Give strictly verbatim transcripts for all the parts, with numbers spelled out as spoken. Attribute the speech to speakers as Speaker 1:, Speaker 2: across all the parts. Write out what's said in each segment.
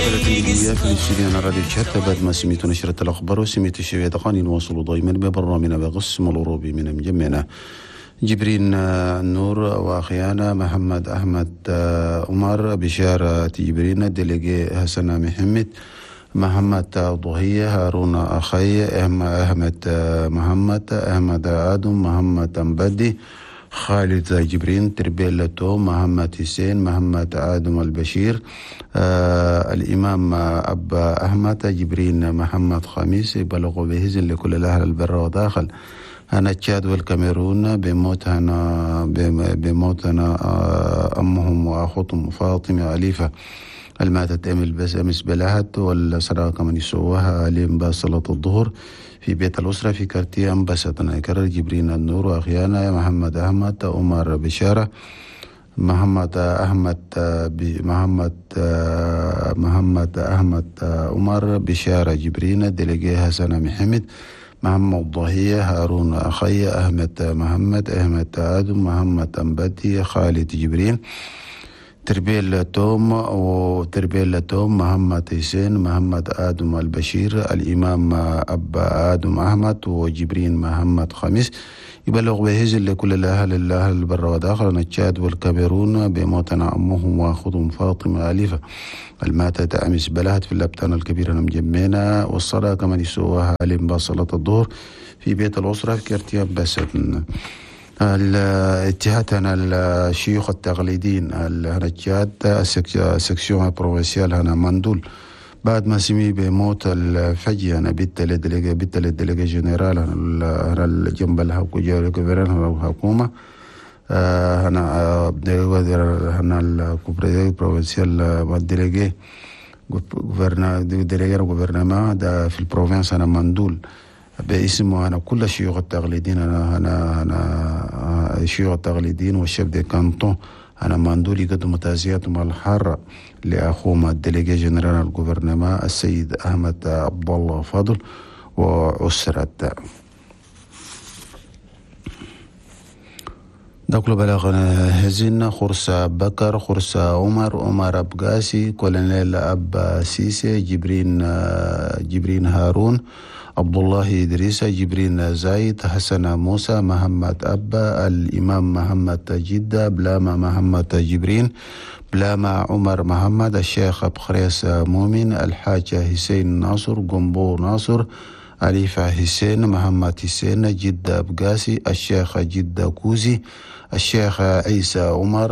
Speaker 1: وثلاثين دقيقة في الاستوديو على راديو تشاد. بعد ما سميتوا نشرة الأخبار وسميتوا شوية دقائق، نواصلوا دائما ببرنامجنا بقسم الأوروبي من مجمعنا. جبرين النور وأخيانا محمد أحمد عمر بشارة جبرين délégué حسن محمد محمد ضهية هارون أخي أحمد محمد أحمد آدم محمد أمبدي خالد جبرين تربيل تو محمد حسين محمد آدم البشير آه الإمام أبا أحمد جبرين محمد خميس. يبلغوا بهزن لكل الأهل البر وداخل هنا تشاد والكاميرون بموت هنا بموت هنا أمهم وأخوتهم فاطمة أليفة الماتت أمل بس أمس بلهت والصلاة كمان يسووها لين صلاة الظهر في بيت الأسرة في كارتي أمبستنا. يكرر جبرين النور وأخيانا محمد أحمد عمر بشارة محمد أحمد محمد محمد أحمد عمر بشارة جبرين délégué حسن محمد محمد ضهية هارون أخي أحمد محمد أحمد آدم محمد أمبدي خالد جبرين تربيل توم وتربيل توم محمد حسين محمد آدم البشير الإمام أبا آدم أحمد وجبرين محمد خميس. يبلغ بهزل لكل الأهل الأهل البر وداخل التشاد والكاميرون بموتنا أمهم وأخوتهم فاطمة أليفة الماتت أمس بلهت في اللبتان الكبيرة مجمينا، والصلاة كمان يسوها لين صلاة الظهر في بيت الأسرة في كرتياب بسن. الاتحاد الشيوخ التقليديين التشاد section provinciale هنا مندول بعد ما سمي بموت الفجي أنا بيت ال délégué بيت ال délégué général هنا الجنب الحكومة هنا هنا ال provincial délégué délégué gouvernement ده في ال province هنا مندول باسمه أنا كل الشيوخ التقليديين أنا أنا أنا الشيوخ التقليديين وال chefs de canton أنا مندول يقدموا تعزياتهم الحارة لأخوهم ال délégué général ال gouvernement السيد أحمد عبد الله فضل وأسرته. دخل بلاغنا هزين خرسة بكر خرسة عمر عمر أبقاسي كولونيل أبا سيسي جبرين جبرين هارون عبد الله إدريس جبرين زايد حسن موسى محمد أبا الإمام محمد جدة بلاما محمد جبرين بلاما عمر محمد الشيخ أبخريس مؤمن الحاج حسين ناصر قنبو ناصر أليفة حسين محمد حسين جدة أبقاسي الشيخ جدة كوزي الشيخ عيسى عمر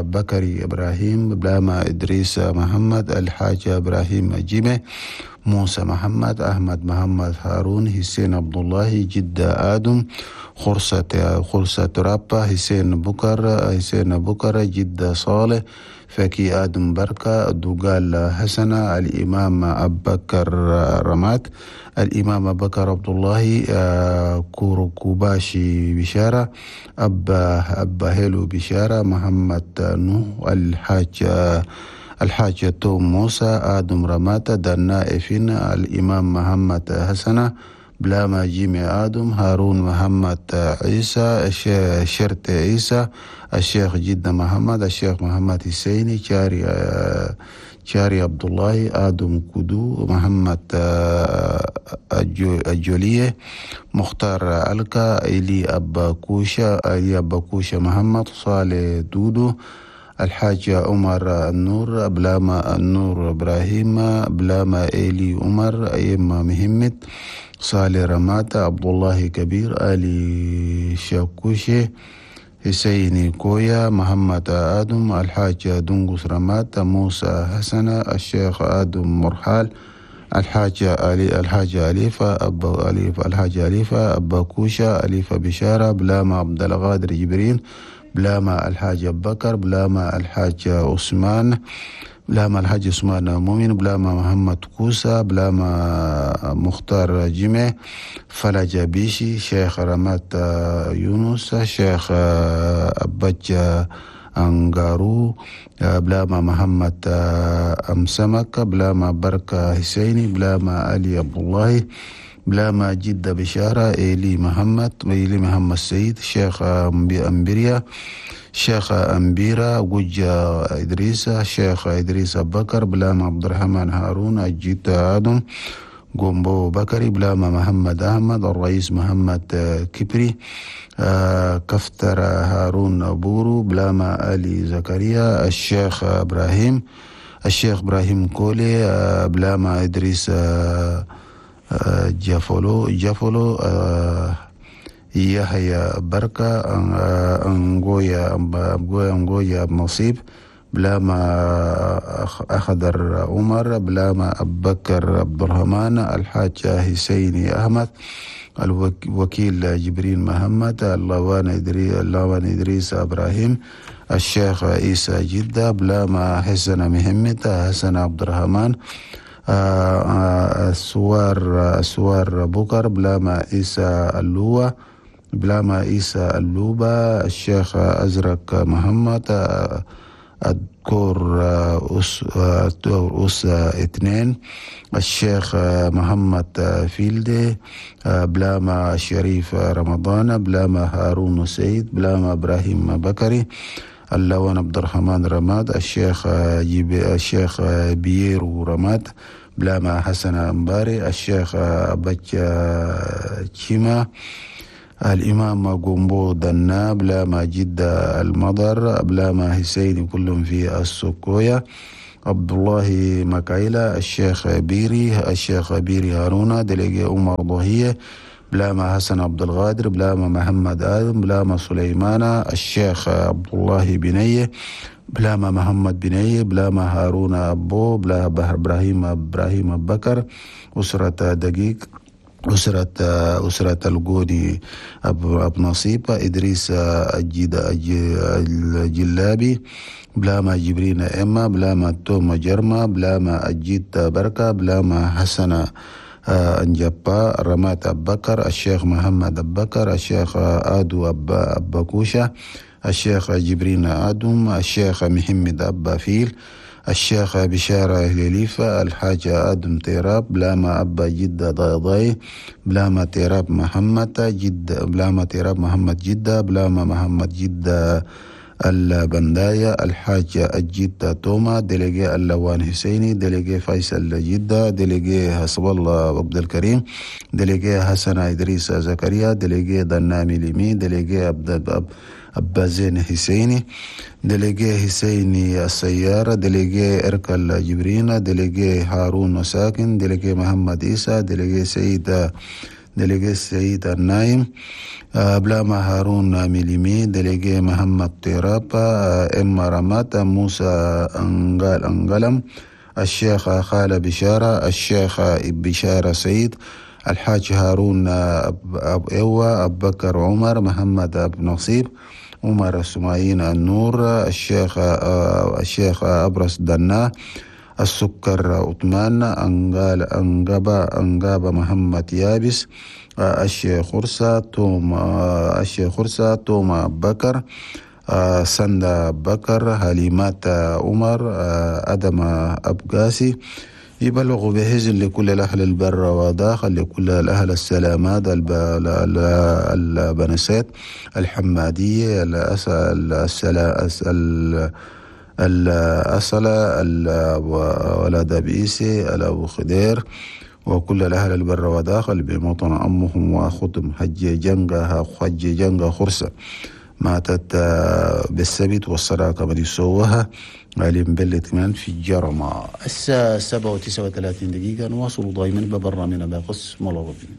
Speaker 1: بكري إبراهيم بلاما إدريس محمد الحاج إبراهيم جيمة موسى محمد أحمد محمد هارون حسين عبد الله جدة آدم خرسة خرسة ترابا حسين بكر حسين بكر جدة صالح فكي آدم بركة دوغال حسنة الإمام أبكر رمات الإمام بكر عبد الله كوركوباشي بشارة أبا أبا هيلو بشارة محمد نوح الحاج الحاج توم موسى آدم رماتا دنائفين الإمام محمد حسنة بلاما جيمي آدم هارون محمد عيسى شرط عيسى الشيخ جدة محمد الشيخ محمد حسيني شاري شاري عبد الله آدم كدو محمد الجولية مختار ألكا إلي أبا كوشة إلي أبا كوشة محمد صالح دودو الحاج عمر النور بلاما النور إبراهيم بلاما إلي عمر أيما مهمت صالح رماتا عبد الله كبير آلي شاكوشي حسين كويا محمد آدم الحاج دنقس رماتا موسى حسن الشيخ آدم مرحال الحاج علي الحاج أليفة أبا أليفة الحاج أليفة أبا كوشة أليفة بشارة بلاما عبد القادر جبرين بلاما الحاج بكر بلاما الحاج عثمان بلاما الحاج عثمان مؤمن بلاما محمد كوسا بلاما مختار جمع فلج بيشي شيخ رمات يونس شيخ أبج أنغارو بلاما محمد أمسمك بلاما بركة حسيني بلاما علي عبد الله بلاما جدة بشارة إيلي محمد إيلي محمد سيد شيخ أمبريا الشيخ أمبيرا جوجا إدريس الشيخ إدريس بكر بلاما عبد الرحمن هارون الجيت آدم جومبو بكري بلاما محمد أحمد الرئيس محمد كبري كفتر هارون بورو بلاما علي زكريا الشيخ إبراهيم الشيخ إبراهيم كولي بلاما إدريس جافولو جافولو يحيى بركة أنغويا أنغويا نصيب بلاما أخضر عمر بلاما أبو بكر عبد الرحمن الحاج حسيني أحمد الوكيل جبريل محمد اللوان إدريس اللوان إدريس إبراهيم الشيخ عيسى جدة بلاما حسن محمد حسن عبد الرحمن السوار السوار بكر بلاما عيسى اللوة بلاما عيسى اللوبة الشيخ أزرق محمد الدكتور أس أس اثنين الشيخ محمد فيلدي بلاما شريف رمضان بلاما هارون سيد بلاما إبراهيم بكري اللوان عبد الرحمن رماد الشيخ جيب الشيخ بييرو رماد بلاما حسن أمباري الشيخ بچ تشيما الإمام جومبو دنا بلاما جدة المضر بلاما حسين كلهم في السكوية عبد الله مكايلة الشيخ بيري الشيخ بيري هارونا دليجي عمر ضهية بلاما حسن عبد الغادر بلاما محمد آدم بلاما سليمان الشيخ عبد الله بنية بلاما محمد بنية بلاما هارون أبو بلاما إبراهيم إبراهيم بكر أسرة دقيق أسرة أسرة الجوني أب أب نصيب إدريس الجد الجلابي بلاما جبرين إما بلاما توما جرما بلاما الجد بركة بلاما حسن أنجبا رمات أبكر الشيخ محمد أبكر الشيخ آدو أب أبكوشة الشيخ جبرين آدم الشيخ محمد أبا فيل الشيخ بشارة هليليفة الحاج آدم تيراب بلاما أبا جدة ضاي بلاما تيراب محمد جدة بلاما تيراب محمد جدة بلاما محمد جدة البنداية الحاج الجدة توما دليجي اللوان حسيني دليجي فيصل جدة دليجي حسب الله عبد الكريم دليجي حسن إدريس زكريا دليجي دنامي ليمي دليجي عبد أبا زين حسيني دليجي حسيني السيارة دليجي إركل جبرينا دليجي هارون ساكن دليجي محمد إيسى دليجي سيد دليجي سيد النايم بلاما هارون ميليمي دليجي محمد تيرابا إما رمات موسى أنغال أنغلم الشيخ خالة بشارة الشيخ بشارة سيد الحاج هارون أب إيوة أبو بكر عمر محمد أبو نصيب عمر السمايين النور الشيخ الشيخ أبرس دنا السكر عثمان أنغال أنغابا أنغابا محمد يابس الشيخ خرسة توم الشيخ خرسة توما بكر سندا بكر هليمات عمر أدم أبقاسي يبلغ بهزل لكل الأهل البر وداخل لكل الأهل السلامات البنسات الحمادية الأصلة ولد بإيسي الأبو خدير وكل الأهل البر وداخل بموطن أمهم وأخوتهم حج جنجا حج جنجا خرسة ماتت بالسبت والصلاة كما يسوها عليم بلت من في الجرمى. الساعة سبعة وتسعة وثلاثين دقيقة نواصل دائما ببرنامجنا بقسم الغربي.